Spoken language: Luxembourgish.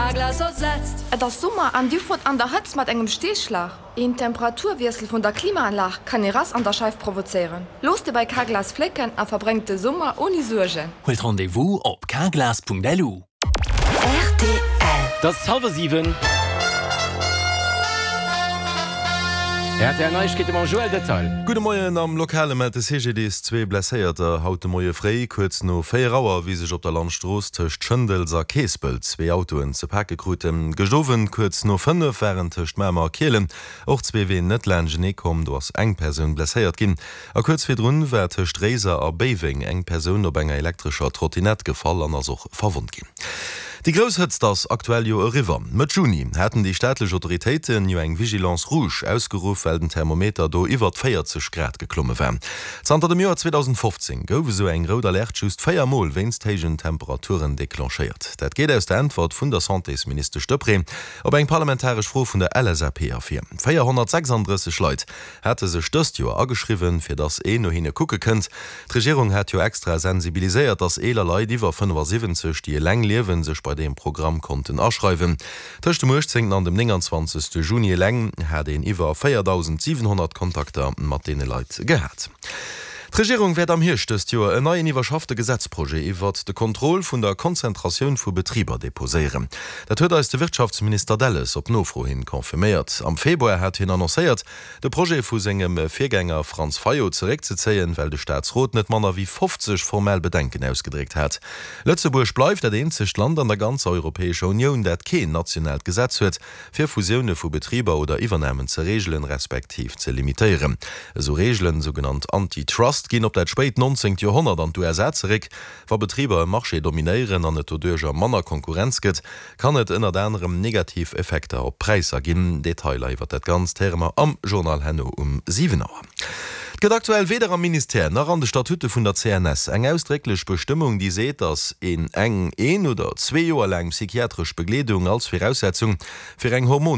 Carglass ersetzt. Et ass Summer an dir fuert an der Hëtzt mat engem Steeschlag? Een Temperaturwiessel vun der Klimaanlag kann ee Rass an der Scheif provozéieren. Loosst e bei Carglass flécken a verbréngt de Summer ouni Suergen. Huelt Rendez-vous op carglass.lu. Rtl. Et ass hallwer 7. Rtl Neiegkeete mam Joël Detail. Gudde Moien, Am Lokale mellt de CGDIS zwee Blesséierter haut de Moie fréi. Kuerz no 4 Auer, wéi sech op der Landstrooss tëscht Schëndels a Keespelt zwee Autoen ze pake kruten. Gëscht Owend kuerz no 5 waren tëscht Mamer a Kielen och zwee Ween net laanschtenee komm. Do ass eng Persoun blesséiert ginn. A kuerz virdrun war tëscht Réiser a Béiweng eng Persoun op enger elektrescher Trottinett gefall an ass och verwonnt ginn. Déi grouss Hëtzt ass aktuell jo eriwwer. Mëtt Juni haten déi staatlech Autoritéiten jo eng Vigilance rouge ausgeruff, well den Thermometer do iwwert 40 Grad geklomme war. Zanter dem Joer 2015 gouf esou eng rout Alerte just 4 Mol wéinst héijen Temperaturen declenchéiert. Dat geet aus der Äntwert vun der Santésministesch Deprez op eng parlamentaresch Fro vun der LSAP ervir. 436 Leit hate sech dëst Joer ageschriwwen, fir datt een no hinne kucke kënnt. D'Regierung hat jo extra sensibiliséiert, datt eeler Leit iwwer 75, déi eleng liewen, sech bei deem Programm konnten aschreiwen. Tëscht dem 18 an dem 29 Juni eleng hat een iwwer 4.700 Kontakter mat deene Leit gehat. D'Regierung wäert am Hierscht dëst Joer en neien iwwerschaffte Gesetzprojet iwwert de Contrôle vun der Konzentratioun vu Betriber deposéieren. Dat huet eis de Wirtschaftsminister Delles op Nofro hin confirméiert. Am Februar hat hien annoncéiert, de Projet vu sengem Virgänger Franz Fayot zeréckzezéien, well de Staatsrot net manner wéi 50 formell Bedenken ausgedréckt hat. Lëtzebuerg bleift dat eenzegt Land an der ganzer Europäescher Unioun, dat keen nationaalt Gesetz huet, fir Fusioune vu Betriber oder Iwwernamen ze reegelen, respektiv ze limitéieren. Esou Reegelen, sougenannt Antitrust, ginn op dat spéit 19. Joerhonnert an d'USA zeréck. Wa Betriber e Marché dominéieren an et doduercher manner Konkurrenz gëtt, kann et ënnert anerem negativ Effekter op d'Präisser ginn. Detailer iwwer dat Ganzt héiere mer am Journal herno um 7 Auer. Et gëtt aktuell weder am Ministère nach an de Statute vun der CNS eng ausdrécklech Bestëmmung, déi seet, datt een eng een oder zwee Joer laang psychiatresch Begleedung als Viraussetzung fir eng Hormon.